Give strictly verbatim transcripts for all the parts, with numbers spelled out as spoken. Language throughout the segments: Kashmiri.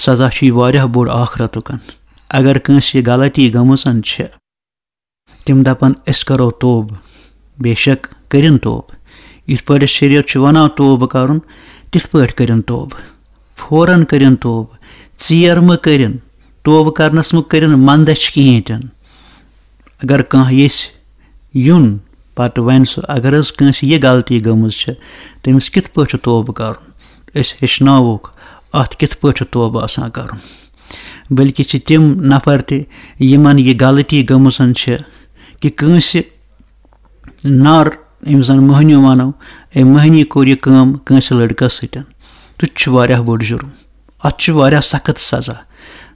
سزا چھُ یہِ واریاہ بوٚڑ ٲخرتُک۔ اگر کٲنٛسہِ یہِ غلطی گٔمٕژ چھِ، تِم دَپَن، "أسۍ کَرو توبہٕ۔" بے شک کٔرِن توبہٕ۔ یِتھ پٲٹھۍ شریعت چھُ وَنان توبہٕ کَرُن، تِتھ پٲٹھۍ کٔرِن توبہٕ۔ فوراً کٔرِن توبہٕ، ژیر مہٕ کٔرِن۔ توبہٕ کَرنَس مہٕ کٔرِن مَندَچھ کِہیٖنۍ تہِ نہٕ۔ اگر کانٛہہ ییٚژھِ یُن، پَتہٕ وَنہِ سُہ، اگر حظ کٲنٛسہِ یہِ غلطی گٔمٕژ چھِ، تٔمِس کِتھ پٲٹھۍ چھُ توبہٕ کَرُن؟ أسۍ ہیٚچھناووکھ اَتھ کِتھ پٲٹھۍ چھُ توبہٕ آسان کَرُن۔ بلکہِ چھِ تِم نفر تہِ، یِمَن یہِ غلطی گٔمٕژ چھِ کہِ کٲنٛسہِ نار، یِم زَن مٔہنیوٗ وَنو، أمۍ مٔہنی کوٚر یہِ کٲم کٲنٛسہِ لٔڑکَس سۭتۍ، تہٕ چھُ واریاہ بوٚڑ جُرُم۔ اَتھ چھُ واریاہ سخت سزا۔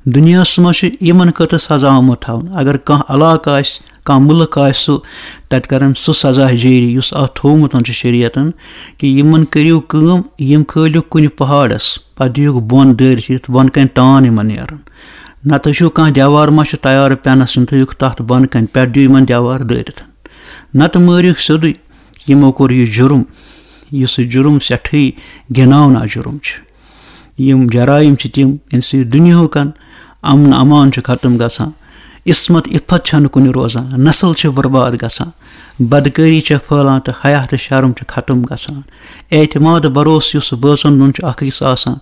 دُنیاہَس منٛز چھُ یِمَن خٲطرٕ سزا آمُت تھاونہٕ۔ اگر کانٛہہ علاقہٕ آسہِ، کانٛہہ مُلک آسہِ، سُہ، تَتہِ کَرَن سُہ سزا جٲری، یُس اَتھ تھوٚومُت چھُ شریعتَن، کہِ یِمَن کٔرِو کٲم، یِم کھٲلِو کُنہِ پہاڑَس، پَتہٕ دِیِو بۄن دٲرِتھ یِتھ، بۄن کَنہِ تان یِمَن نیرَن۔ نَتہٕ وٕچھِو کانٛہہ دیوار ما چھُ تیار پٮ۪نَس، یِم تھٲیِوکھ تَتھ بۄن کَنہِ، پٮ۪ٹھ دِیِو یِمَن دیوار دٲرِتھ۔ نَتہٕ مٲرِوکھ سیوٚدُے۔ یِمو کوٚر یہِ جُرُم، یُس یہِ جُرُم سٮ۪ٹھٕے گِناونا جُرُم چھُ۔ یِم جرائم چھِ تِم، ییٚمہِ سۭتۍ دُنیاہُک امن امان چھُ ختم گژھان، عصمت عفت چھَنہٕ کُنہِ روزان، نسل چھِ برباد گژھان، بدکٲری چھےٚ پھٔہلان تہٕ حیا تہٕ شرم چھُ ختم گژھان۔ اعتماد بھروسہٕ یُس بٲژَن دۄن چھُ اکھ أکِس آسان،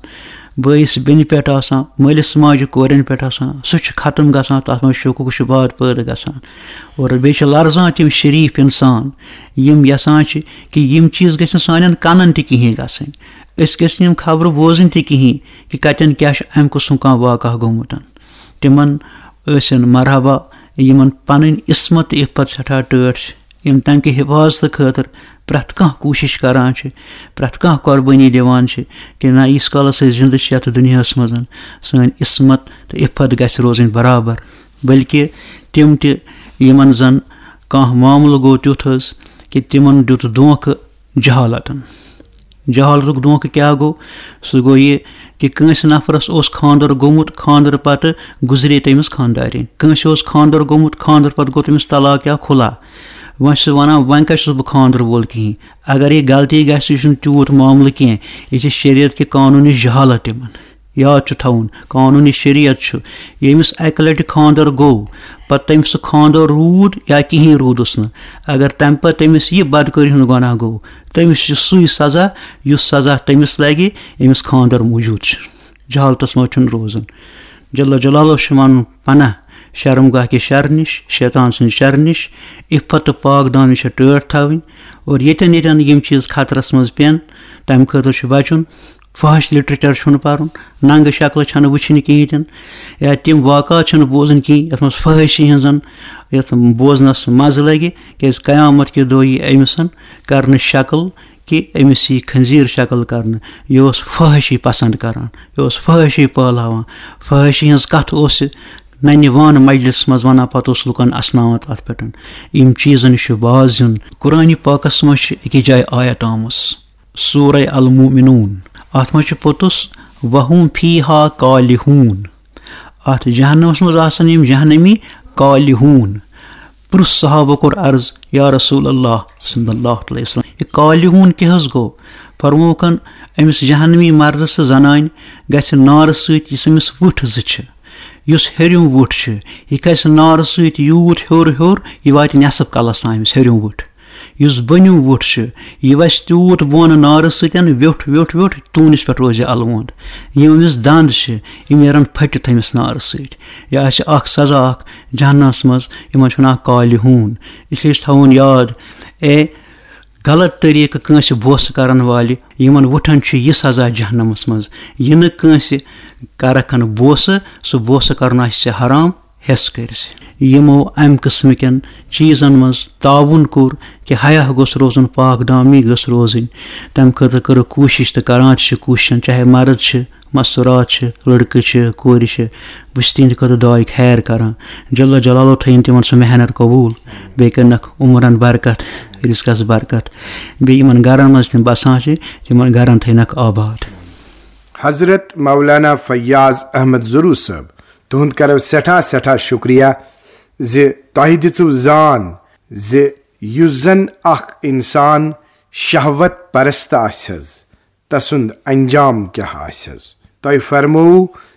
بٲیِس بیٚنہِ پٮ۪ٹھ آسان، مٲلِس ماجہِ کورٮ۪ن پٮ۪ٹھ آسان، سُہ چھُ ختم گژھان، تَتھ منٛز شکوک شبہات پٲدٕ گژھان۔ اور بیٚیہِ چھِ لرزان تِم شریٖف اِنسان، یِم یَژھان چھِ کہِ یِم چیٖز گژھِ نہٕ سانٮ۪ن کَنَن تہِ کِہیٖنۍ گژھٕنۍ، أسۍ گژھِ نہٕ یِم خبرٕ بوزٕنۍ تہِ کِہیٖنۍ کہِ کَتٮ۪ن کیٛاہ چھُ اَمہِ قٕسمُک کانٛہہ واقعہ گوٚمُت۔ تِمَن ٲسِن مرحبا، یِمَن پَنٕنۍ عصمت تہٕ عفت سٮ۪ٹھاہ ٹٲٹھ چھِ، یِم تَمہِ کہِ حفاظتہٕ خٲطرٕ پرٛٮ۪تھ کانٛہہ کوٗشِش کران چھِ، پرٛٮ۪تھ کانٛہہ قۄربٲنی دِوان چھِ کہِ نہ، ییٖتِس کالَس أسۍ زِندٕ چھِ یَتھ دُنیاہَس منٛز، سٲنۍ عصمت تہٕ عفت گژھِ روزٕنۍ برابر۔ بلکہِ تِم تہِ، یِمَن زَن کانٛہہ معاملہٕ گوٚو تیُتھ حظ کہِ تِمَن دیُت دھوکہٕ جہالتَن۔ جہالتُک دھوکہٕ کیٛاہ گوٚو؟ سُہ گوٚو یہِ کہِ کٲنٛسہِ نفرَس اوس خانٛدر گوٚمُت، خانٛدر پتہٕ گُزرے تٔمِس خانٛدارِنۍ۔ کٲنٛسہِ اوس خانٛدر گوٚمُت، خانٛدر پتہٕ گوٚو تٔمِس طلاق یا خُلا۔ وۄنۍ چھُ سُہ وَنان، "وۄنۍ کَتہِ چھُس بہٕ خانٛدر وول کِہیٖنۍ؟" اگر یہِ غلطی گژھِ، یہِ چھُنہٕ تیوٗت معاملہٕ کینٛہہ، یہِ چھِ شریعت کہِ قانوٗنٕچ جہالت تِمَن۔ یاد چھُ تھاوُن، قانوٗنی شریعت چھُ، ییٚمِس اَکہِ لَٹہِ خانٛدر گوٚو، پتہٕ تٔمِس سُہ خانٛدر روٗد یا کِہیٖنۍ روٗدُس نہٕ، اگر تَمہِ پتہٕ تٔمِس یہِ بدکٲری ہُنٛد گۄناہ گوٚو، تٔمِس چھُ سُے سزا، یُس سزا تٔمِس لگہِ، ییٚمِس خانٛدر موٗجوٗد چھُ۔ جہالتس منٛز چھُنہٕ روزُن۔ جل جلالہ چھُ وَنُن پناہ شرمگاہ کہِ شرٕ نِش، شیطان سٕنٛدِ شرٕ نِش۔ عفت تہٕ پاک دٲمی چھےٚ ٹٲٹھ تھاوٕنۍ، اور ییٚتٮ۪ن ییٚتٮ۪ن یِم چیٖز خطرس منٛز پٮ۪ن، تَمہِ خٲطرٕ چھُ بچُن۔ فحش لٹریچر چھُنہٕ پَرُن، ننٛگہٕ شکلہٕ چھَنہٕ وٕچھِنۍ کِہیٖنۍ تہِ نہٕ، یا تِم واقعات چھِنہٕ بوزٕنۍ کِہیٖنۍ یَتھ منٛز فحٲشی ہِنٛزَن، یَتھ بوزنَس مَزٕ لَگہِ، کیٛازِ قیامت کہِ دۄہ یی أمِس کَرنہٕ شکل کہِ أمِس یی خنزیٖر شکل کَرنہٕ۔ یہِ اوس فحٲشی پسنٛد کَران، یہِ اوس فحٲشی پٲلاوان، فحٲشی ہِنٛز کَتھ اوس یہِ ننہِ وان مجلس منٛز وَنان، پَتہٕ اوس لُکَن اَسناوان تَتھ پٮ۪ٹھ۔ یِم چیٖزَن نِش چھُ باز یُن۔ قرآنِ پاکَس منٛز چھِ أکِس جایہِ آیت آمٕژ، سورہ المومنون، اَتھ منٛز چھُ پوٚتُس، "وَهُمْ فِيهَا كَالِحُونَ"۔ اَتھ جہنمس منٛز آسن یِم جہنمی کالحون۔ پرُژھ صحابہ کوٚر عرض، "یا رسول اللہ صلی اللہ علیہ وسلم، یہِ کالحون کیٛاہ حظ گوٚو؟" فرمووُکھن، أمِس جہنمی مردس تہٕ زنانہِ گژھِ نارٕ سۭتۍ یُس أمِس وُٹھ زٕ چھِ، یُس ہیٚرِم وُٹھ چھُ، یہِ کھسہِ نارٕ سۭتۍ یوٗت ہیوٚر ہیوٚر، یہِ واتہِ نٮ۪صٕف کلس تام أمِس ہیٚرِم وُٹھ۔ یُس بۄنِم وُٹھ چھُ، یہِ وَسہِ تیوٗت بۄن نارٕ سۭتۍ، ویوٚٹھ، ویوٚٹھ، ویوٚٹھ، توٗنِس پٮ۪ٹھ روزِ یہِ الوُنٛد۔ یِم أمِس دَنٛد چھِ، یِم نیرَن پھٔٹِتھ أمِس نارٕ سۭتۍ۔ یہِ آسہِ اَکھ سزا اَکھ جہنمَس منٛز، یِمَن چھِ وَنان کالحون۔ اِسلیے چھُ تھاوُن یاد، اے غلط طریٖقہٕ کٲنٛسہِ بوسہٕ کَرَن والہِ، یِمَن وُٹھَن چھُ یہِ سزا جہنمَس منٛز۔ یہِ نہٕ کٲنٛسہِ کَرَکھ بوسہٕ، سُہ بوسہٕ کَرُن آسہِ ژےٚ حرام، حِصہٕ کٔرۍ زِ۔ یِمو اَمہِ قٕسمہٕ کٮ۪ن چیٖزن منٛز تعاوُن کوٚر کہِ حیا گوٚژھ روزُن، پاک دٲمی گٔژھ روزٕنۍ، تَمہِ خٲطرٕ کٔرٕکھ کوٗشِش تہٕ کران تہِ چھِ کوٗشِشن، چاہے مرد چھِ، مستوٗرات چھِ، لڑکہٕ چھِ، کورِ چھِ، بہٕ چھُس تِہنٛدِ خٲطرٕ دُعاے خیر کران۔ جل جلالو تھٲیِن تِمن سُہ محنت قبوٗل، بیٚیہِ کٔرنَکھ عمرن برکت، رِزقس برکت، بیٚیہِ یِمن گرن منٛز تِم بسان چھِ، تِمن گرن تھٲینَکھ آباد۔ حضرت مولانا فیاض احمد زرو صٲب، تُہُنٛد کرو سٮ۪ٹھاہ سٮ۪ٹھاہ شُکریہ زِ تۄہہِ دِژٕو زان زِ یُس زن اکھ انسان شہوت پرست آسہِ حظ، تسُنٛد انجام کیٛاہ آسہِ حظ۔ تۄہہِ فرمووُ